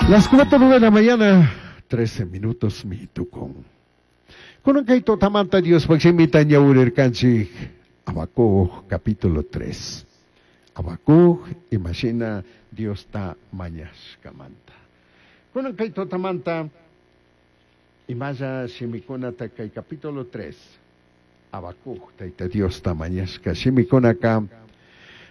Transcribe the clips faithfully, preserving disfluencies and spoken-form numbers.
Las cuatro de la mañana, trece minutos mitucon. Kunan kay tutamanta Diospaj shimita ñawirirkanchik Habacuc capítulo tres. Habacuc imashina Diosta mañashkamanta. Kunan kay tutamanta imalla shimikunata kay capítulo tres. Habacuc tayta Diosta mañashka shimikunaka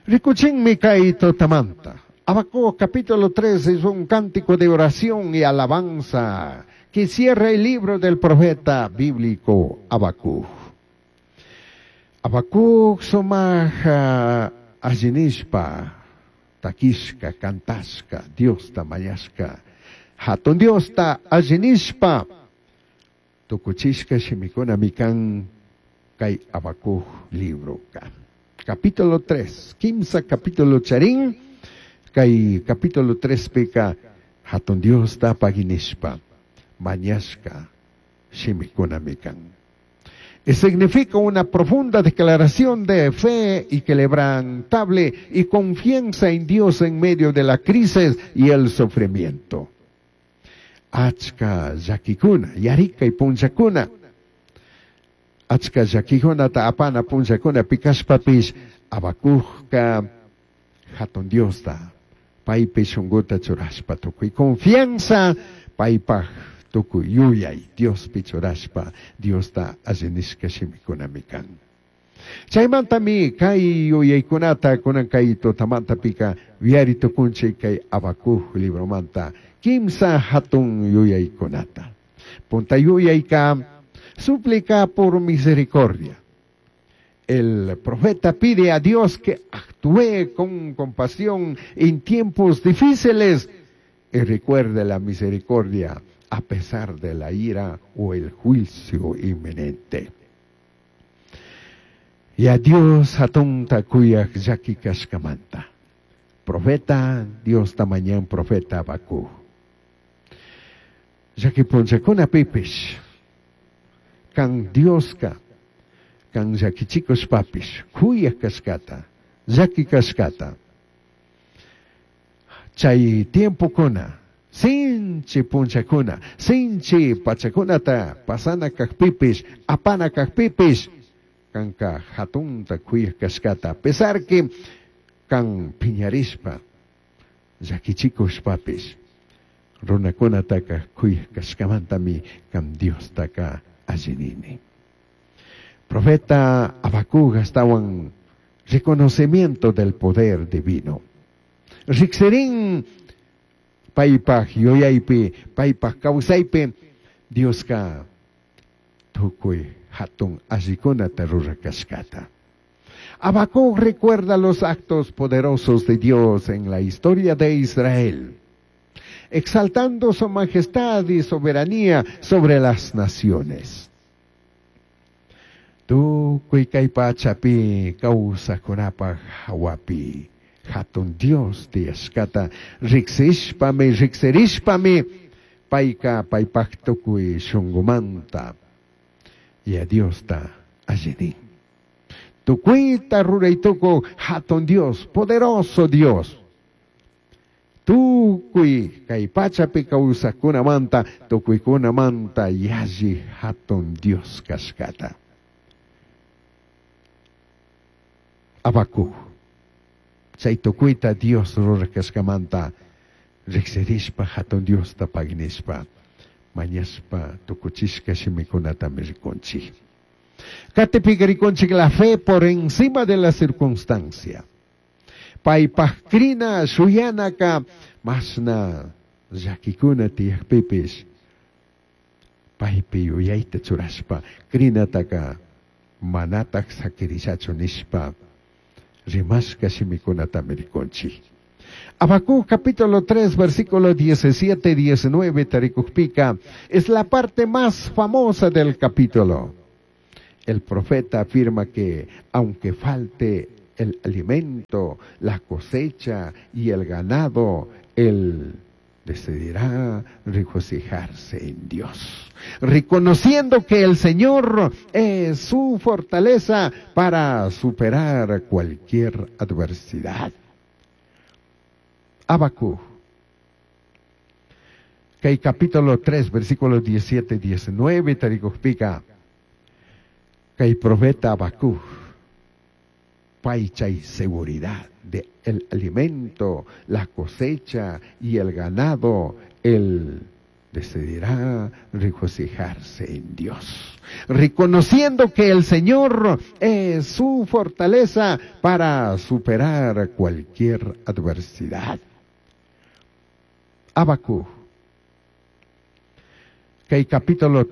rikuchinmi kay tutamanta. Habacuc capítulo tres es un cántico de oración y alabanza que cierra el libro del profeta bíblico Habacuc. Habacuc sumaja allinishpa, takishka, cantashka, Diosta mañashka, hatun Diosta allinishpa, tukuchishka shimikuna mikan kay Habacuc libro ka. Capítulo tres, kimsa capítulo charin, kay capítulo tres pika hatun Diosta paginishpa, mañashka shimikuna mikan. Y significa una profunda declaración de fe y quebrantable y confianza en Dios en medio de la crisis y el sufrimiento. Achka llakikuna, yarika y punchakuna. Achka llakikuna ta apana punchakuna pikashpapish Habacucka hatun Diosta paypi shunguta churashpa tukuy confianza paypaj tukuy yuyay Diospi churashpa Diosta allinishka shimikunami kan. Chaymantami kay yuyaykunata kunan kay tutamanta pika yuyari tukunchik kay Habacuc libromanta kimsa hatun yuyaykunata. Punta yuyayka súplica por misericordia. El profeta pide a Dios que actúe con compasión en tiempos difíciles y recuerde la misericordia a pesar de la ira o el juicio inminente. Y a Dios hatunta kuyak llaki kashkamanta. Profeta, Dios tamañan profeta Habacuc. Llaki punchakuna pipish. Kan Dioska, kan llakichikos papish, kuyak kashkata, llaki kashkata. Chay tiempo kuna, sinchi punchakuna, sinchi pachakunata, pasana kajpipish, apana kajpipish, kanka hatunta kuyak kashkata, a pesar que kan piñarishpa, llakichikos papish, runakunataka kuyak kashkamantami kan Diostaka allinini. Profeta Habacuc tawan reconocimiento del poder divino. Riksirin paypaj yuyaypi, paypaj kawsaypi, Dioska tukuy hatun allikunata rurakashkata. Habacuc recuerda los actos poderosos de Dios en la historia de Israel, exaltando su majestad y soberanía sobre las naciones. Tukuy kay pachapi kawsakunapaj hawapi hatun Dios tiyashkata riksishpami, riksirishpami payka paypaj tukuy shunqumanta y a Diosta allinin. Tukuyta ruraytukuy hatun Dios, poderoso Dios. Tukuy kay pachapi kawsakunamanta, tukuykunamanta yalli hatun Dios kashkata. Habacuc. Chay tukuyta Dios rurakashkamanta riksirishpa hatun Diosta paginishpa mañashpa tukuchishka shimikunatami rikunchik. Katipika rikunchik la fe por encima de la circunstancia. Paypaj krina shuyanaka masna llakikuna tiyakpipish paypi yuyayta churashpa krinataka manataj sakirishachu nishpa rimashka shimikunatami rikunchik. Habacuc capítulo tres, versículo diecisiete, diecinueve, tarikujpika, es la parte más famosa del capítulo. El profeta afirma que aunque falte el alimento, la cosecha y el ganado, él decidirá regocijarse en Dios, reconociendo que el Señor es su fortaleza para superar cualquier adversidad. Habacuc. Kay capítulo tres, versículo diecisiete, diecinueve tarikujpika, kay profeta Habacuc, pay chay seguridad de el alimento, la cosecha y el ganado, él decidirá regocijarse en Dios, reconociendo que el Señor es su fortaleza para superar cualquier adversidad. Habacuc, kay capítulo